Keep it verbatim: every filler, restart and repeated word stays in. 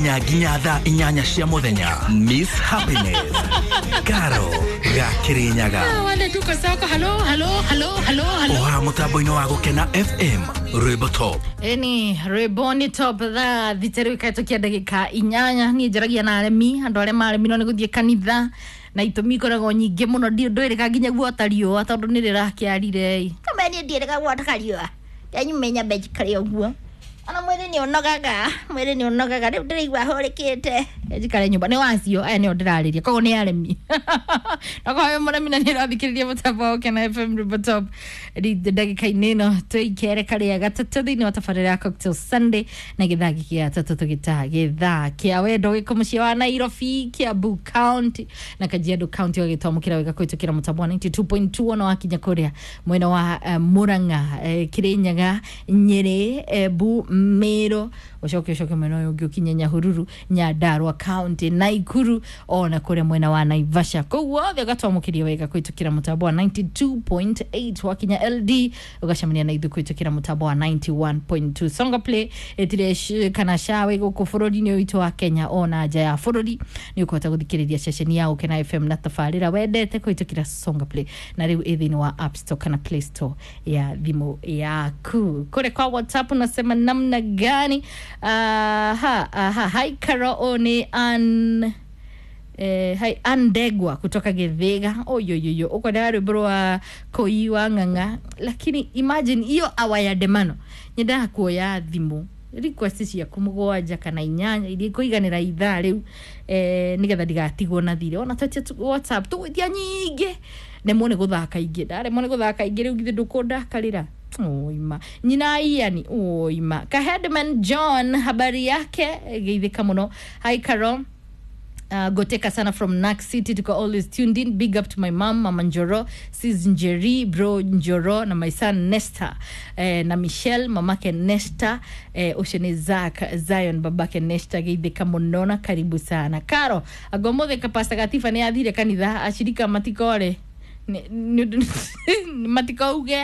Nginya thaa inyanya cia muthenya. Miss Happiness Karo Gakirinyaga. Wale tuko soko. Halo, halo, halo, halo, halo. Oha mutambo-inĩ wa Gũkena F M, rwĩmbo top. Ĩni rwĩmbo nĩ top. Thaa thita rĩu ikahetũkia ndagĩka inyanya. Niĩ njaragia na aremi, andũ arĩa maremirwo nĩ gũthiĩ kanitha na itũmi ikoragwo nyingĩ mũno. Ndiũ ndwĩrĩga nginya guota riũa tondũ nĩ rĩrakĩarire. Kumbe niĩ ndiĩrĩga guota kariũa, ndanyuma nyambe njikare ũguo, ona mwĩrĩ nĩ ũnogaga, mwĩrĩ nĩ ũnogaga, rĩu ndĩraigua hũrĩkĩte. Njikare nyũmba nĩ wacio. Aya nĩo ndĩrarĩria, koguo nĩ aremi. Nakorwo wĩ mũremi na nĩ ũrathikĩrĩria mũtambo wa Ũkena F M, rwĩmbo top, ndagĩka-inĩ ĩno tũikere karĩa gatatũ thĩinĩ wa tabarĩra ya Cocktail Sunday na gĩthaa gĩkĩ gĩa gatatũ tũgĩtaa gĩthaa kĩa wendo gĩkũ mũciĩ wa Nairobi, Kiambu County na Kajiado County, ũgagĩtwamũkĩra wega kũhĩtũkĩra mũtambo wa mĩrongo kenda na igĩrĩ turuma igĩrĩ. Ona wakinya kũrĩa mwena wa uh, Murang'a, uh, Kirinyaga, Nyĩrĩ, Embu, Meru, ũcoke ũcoke mwena ũyũ ũngĩ ũkinye Nyahururu, Nyandarua County, Naikuru, ona kũrĩa mwena wa Naivasha, kũu wothe ũgatwamũkĩria wega kũhĩtũkĩra mũtambo wa mĩrongo kenda na igĩrĩ turuma kenda. Wakinya L D ũgacemania na ithuĩ kũhĩtũkĩra mũtambo wa mĩrongo kenda na ĩmwe turuma igĩrĩ. Songa Play ĩtire sh- kana shawe gũkũ bũrũri-inĩ ũyũ witũ wa Kenya ona nja ya bũrũri nĩ ũkũhota gũthikĩrĩria ceceni ya Gũkena F M na tabarĩra wendete kũhĩtũkĩra Songa Play, na rĩu ĩ thĩinĩ wa App Store kana Play Store ya thimũ yaku. Kũrĩ kwa WhatsApp unasema namna gani? Aha, aha, hi Karo, nĩ an eh, hai Andegwa kutoka Githiga. Oyoyoyo, ukwendaga rwimbo rwa Koi wa Ng'ang'a, lakini imagine iyo awa ya ndemano nyendaga kuoya thimũ request ciaku mũgwanja kana inyanya iria ikũiganĩra ithaa rĩu, eh, nĩgetha ndigatigwo na thirĩ. Ona twetie tu- WhatsApp tũgwĩtia nyingĩ, nemwo nĩ gũthaka ingĩ, ndaremwo nĩ gũthaka ingĩ rĩu githĩ ndũkũndakarĩra? Oima nyina Iani, oima Kahedman John, habari yake geithĩka mũno. Hi Caro. Uh, goteka sana from Nak City, tuko always tuned in. Big up to my mom, Mama Njoro, sis Njeri, bro Njoro na my son Nesta, eh, na Michelle mamake Nesta, eh, ucio nĩ Zak Zion babake Nesta. Geithĩka mũno na karibu sana Karo. Agomothe kapasta gatiba nĩ athire kanitha, ashirika matikore, matikauge.